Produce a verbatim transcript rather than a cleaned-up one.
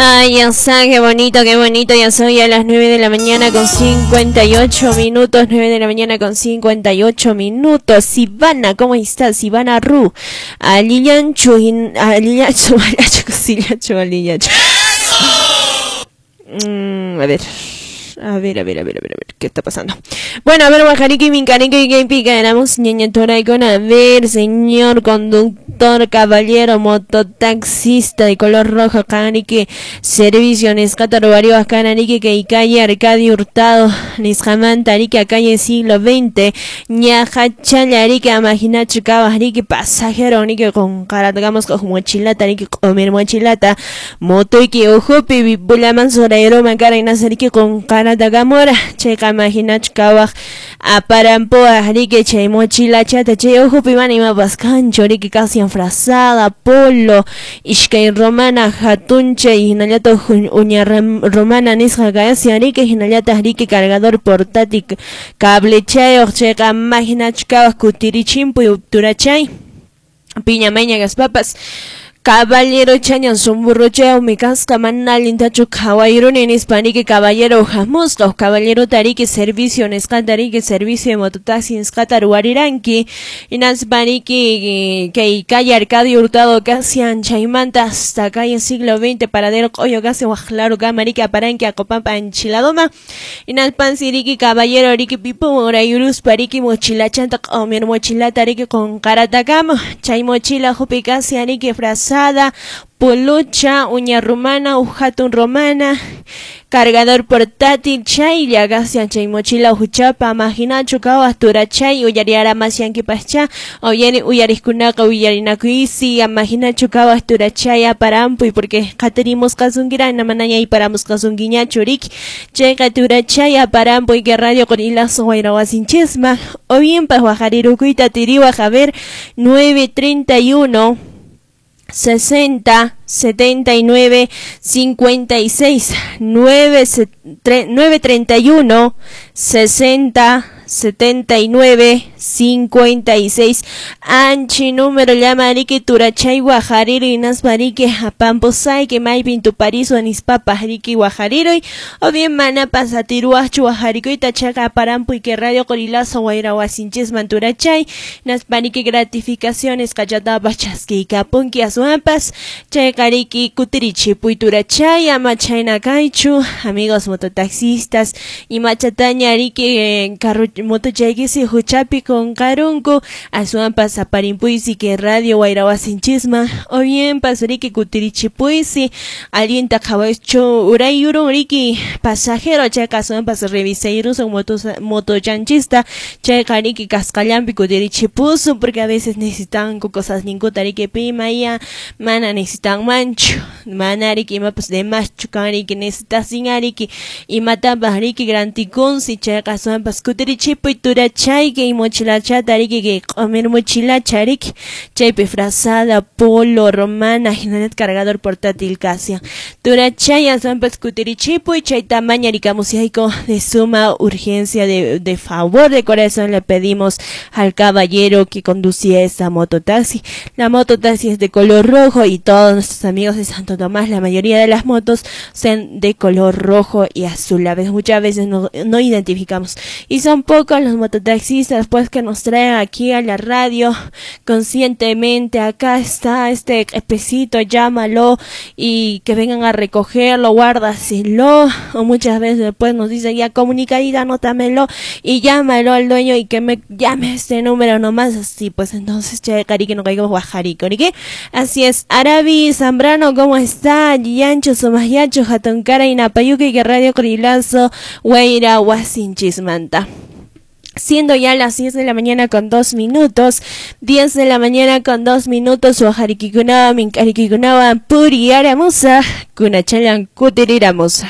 Ay, ya está, qué bonito, qué bonito. Ya soy a las nueve de la mañana con cincuenta y ocho minutos. nueve de la mañana con cincuenta y ocho minutos. Ivana, ¿cómo estás? Ivana Ru. Alillanchu, Alillanchu, Alillanchu, Alillanchu. Mm, a ver. A ver, a ver, a ver, a ver, a ver, ¿qué está pasando? Bueno, a ver, Guajariki, Mincariki, Pica, éramos ñaña con a ver, señor conductor, caballero, mototaxista de color rojo, Kaniki, servicio, Nescata, Robario, Canarique, que calle Arcadio Hurtado, Nisjamanta, Arica, calle siglo veinte, Ñaja, Challa, Arica, Amaginacho, Cabas, Arique, pasajero, Nike, con caratagamos, con mochilata, Arique, comer mochilata, motoiki, ojopi, bulaman, soraero, macara, y nazarique, con cara Gamora, checa maginach kawaj, aparampoa, rique che mochila chata, che ojo pimani mapas cancho, rique casi enfrasada, polo, ishkay romana, jatunche, y hinayata uña romana, nisja gaesia, rique, hinayata rique cargador portátil, cable cheo, checa maginach kawaj, kutirichimpu y upturachay, piña meña gaspapas. Caballero chañan somburrocheo mi casca manalin tacho caballeroni nispanike caballero jamusca caballero tarike servicio nescantarike servicio de mototaxi nescatar huariranki y naspaniki que calle Arcadio Hurtado casi anchaimanta hasta calle siglo veinte paradero coyo casi guajlaro camarika paranque acopampa enchiladoma y naspansiriki caballero riki pipo morayurus pariki mochila chanta comer mochila tariki con karatacamo chay mochila jupi casi ariki frase polocha, uña romana, ujatun romana, cargador portátil, chay, gasian, chay, mochila, ujuchapa, maginacho, kawas, turachay, uyariara, masianki, pascha, oyeri, uyariskunaka, uyarinakuisi, amaginacho, kawas, turachay, aparampuy, porque caterimos kasungira, namanaya y paramos kasunguiña, churik, chay, turachay, aparampuy, que radio con hilazo, guairahuasinchisma, o bien, pa, guajarirukuita, tiriwa, javer, nueve treinta y uno, sesenta, setenta y nueve, cincuenta y seis, nueve, nueve treinta y uno, sesenta, setenta y nueve, cincuenta y seis. Anchi número llama ariki turachay guajariro y nasbariki apamposay que maypin tu pariso anispapa ariki guajariro o bien mana pasatiruachu guajariko y tachaca parampu y que radio corilazo guairahuasinchisman turachay naspariki gratificaciones cachatapa chasqui capunki azuampas chay kariki kutirichi puiturachay amachayna kaychu amigos mototaxistas y machataña ariki carro motochaykisi huchapi con karunku asuampas aparimpuisi que radio guairahuasinchisma o bien pasuriki kutirichipuisi alienta kawacho urayurun riki pasajero chayqa asuampas revisayrusun moto motochanchista chayqa riki kasqallampi kutirichipusun porque a veces necesitan cosas ninkuta riki pimaya mana necesitan manchu mana riki imapas demaschu kan riki necesitasin ariki imatapas riki grantikunsi chayqa asuampas kutirichipuy turachay que mochilachata riki que comer mochilacha riki chaypi frazada polo romana hinallat cargador portátil casia turachay asuampas kutirichipuy chay tamaña rikamusiayko de suma urgencia de, de favor de corazón le pedimos al caballero que conducía esa mototaxi. La mototaxi es de color rojo y todos nuestros amigos de Santo Tomás, la mayoría de las motos son de color rojo y azul. A veces, muchas veces no, no identificamos y son pocos los mototaxistas pues que nos traen aquí a la radio conscientemente. Acá está este especito, llámalo y que vengan a recogerlo, guárdaselo, o muchas veces después nos dicen ya comunicadita, anótamelo y llámalo al dueño y que me llame este número nomás, así pues entonces che carique no caigo guajarico, ¿qué? Así es. Arabi Zambrano, ¿cómo está? Yancho Somayacho, Jatoncara y Napayuque, que radio Corilazo, Guaira, Huasinchismanta. Siendo ya las diez de la mañana con dos minutos, diez de la mañana con dos minutos, Guajarikikunawa, Minkarikikunawa, Puri Aramusa, Kunachalan Kutiriramusa.